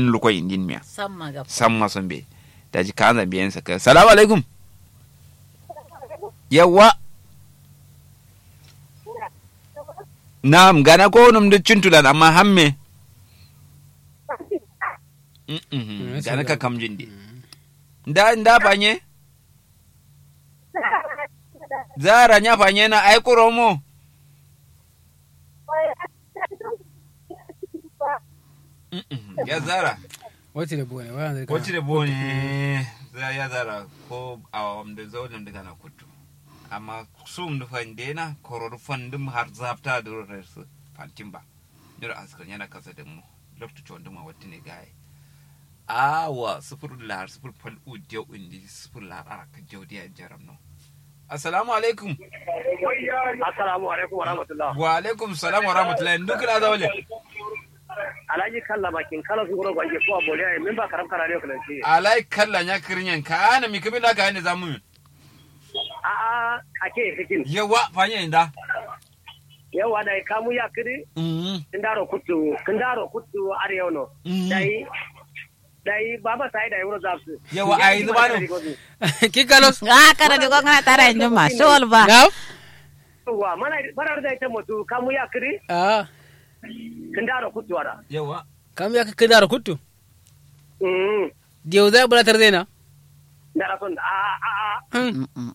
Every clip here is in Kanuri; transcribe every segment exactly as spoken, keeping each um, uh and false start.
Lukoi indin miya. Samma so mbeyi. Daji kaanza mbeyi yen sakka salamu alaikum. Yawwa. Na'am gana ko num duk cuntulan amma hamme. Gana ka kamjin de. Nda nda fanye. Zara nya fanye na ai kuro mo. Ya zara. Wacce da bone waya zai wacce da bone. Ya zara ko awam da zaunin da kana kuttu. Amma sum da fande na koro da fandum har zafta da resu fantin ba. Nyiro askar yana kasa da mu. Loktu chonduma wattine gaye. Awa sufur lar sufur fal u diyo indi sufur lar arak jawdiya jaram no. Assalamu alaikum. Assalamu alaikum wa rahmatullah. Wa alaikum salam wa rahmatullah. Ndu kila zawle. Alhaji kalla bakin kala su guro gwange ko aboliya min ba karam karare ko lanci. Alai kalla nya kirinyan ka ana mi kimin da ka ne zamu. A a ake fikin. Yawa fanya inda. Yawa dai kamu ya kidi. Kindaro kuttu kindaro kuttu are yau no. Dai dai baba sai dai wuro zafsu. Yawa ai zubanu. Kikalos. A kara di gongana tara injuma shol ba. Yawa mana bara da ita mutu kamu ya kidi. Kindaro kuttu ara. Yawa. Kamu ya kindaro kuttu. Diyo zai bula tarzena. Ndara son a a a.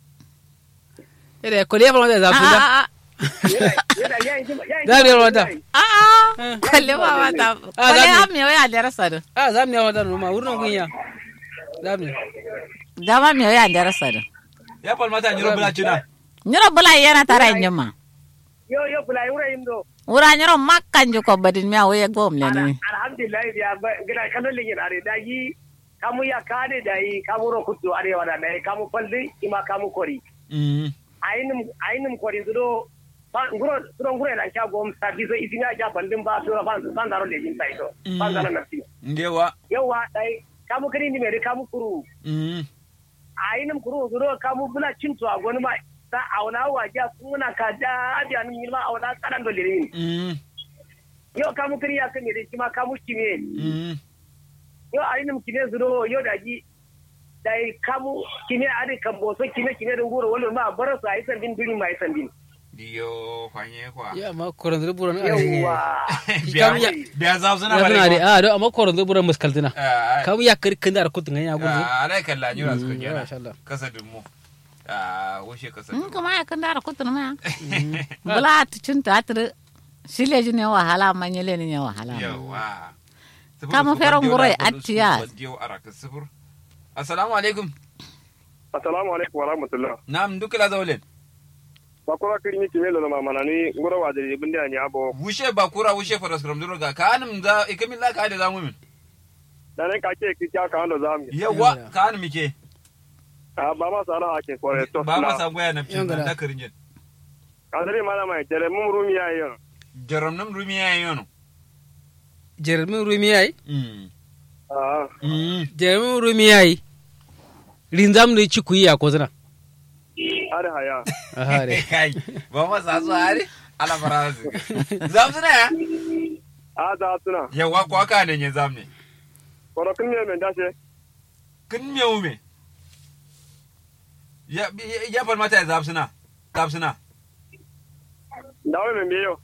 Ede kole ya falmata ya zasu da. Za mu yi falmata. A'a kole ba mata kole ya miyo ya dera sadin. A za mu yi falmata numa wurno gunya. Za mu yi. Dama miyo ya dera sadin. Ya falmata nyiro bula cina. Nyiro bula yana tara injima. Yo yo bula wura indo. Wura nyiro makka njuko badin miya wuye gom leni. Alhamdulillah biya gida kallon lingin are daji. Kamu ya kane dayi kamu ro kuttu arewa da dayi kamu faldi ima kamu kori. Ainum ainum kori sudo. Nguro sudo nguro ila sha gom sabi so isini a sha faldin ba sura fan fan daro lejin sai so. Fan daro nafsi. Ndewa. Yawa dayi kamu kiri ni meri kamu kuru. Ainum kuru sudo kamu bula cintu a gonu ma. Sa auna wa ja kuna ka da abi anum yilma auna kanan do lejin. Yo kamu kiri ya kiri shi ma kamu kime. Yo ayi num kime zuro yo daji. Dai kamu kime adi kambo so kime kime dun guro wolo ma baro so ayi sandin duni ma ayi sandin. Yo fanye kwa ya ma koron zuru buron. Yawa. Biya za su na bare a do amma koron zuru buron muskaltina. Kamu ya kiri kinda da kutun ya gudu. Alai kalla nyura su kunya. Masha Allah. Kasa dummo. Wushe kasa dummo. Kuma ya kinda da kutun ma. Bula tucin ta tiri. Shi leji ne wahala amma nyele ne wahala. Yawa. Kamo fero nguro ya attiya. Assalamu alaikum. Assalamu alaikum wa rahmatullah. Na'am duk la zaulen. Bakura kirin yi kime lono mamana ni nguro wa diri bindi ani abo. Wushe bakura wushe faras kram duro ga kanum za ikamin la ka da zamu min. Dane ka ke ki ka ka ando zamu. Yawa kanum ke. A ba ma sala hakin kore to ba ma sangoya na fitin da kirin jin. Kadiri mana mai jere mum rumi ya yono. Jere mum rumi ya yono. Jere mum rumi ya yi. Jere mum rumi ya yi. Rinzam ni ci kuyi ya kozuna. Are haya. Are kai. Ba ma sa so are. Ala fara. Zam suna ya. A za suna yawa kwa ka ne zam ne. Koro kin me men dashe. Kin me ume. Ya ya falmata ya zam suna. Kapsina. Ndawo membe yo.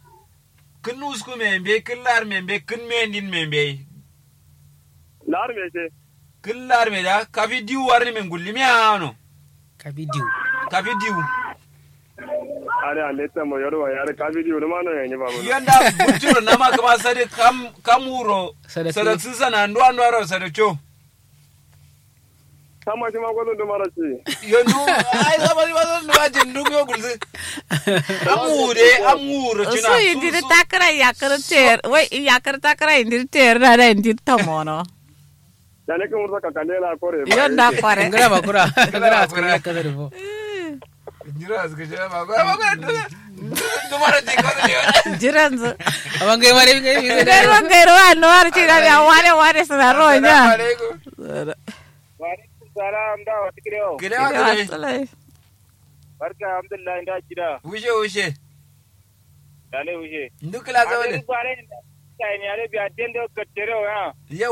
Kǝn nusku membe kǝn lar membe kǝn mendin membe. Lar mese. Kǝn lar meda kafi diwu warni min gullimi a no. Kafi diwu. Kafi diwu. Are ande tamo yorwa yare kafi diwu numa no yanyi babu. Yanda butiro nama kama sade kam kam wuro. Sade sisana nduwa nduwa ro sade co. Kama shi ma gwazon duma rashi. Yo ndu ai zama shi ma zon duma jin duk yo gulzi. Am wude am wuro cina. Su indiri takara yakar ter wai yakar takara indiri ter na da indiri tamono. Dane kan wursa kakande la kore. Yo nda kore. Ngara bakura ngara bakura. Jira aska jira ba ba ba. Dumara ti ko ne. Jiranzu. Aman gai mare gai mi gai ro gai ro anwar ci da ya ware ware suna ro nya. Wa alaikum salam da wa tikire o. Kile wa kile. Barka alhamdulillah inda jira. Wushe wushe. Dale wushe. Ndukla zawale. Bare kai ne ale biya dende o kattere o ya. Yau.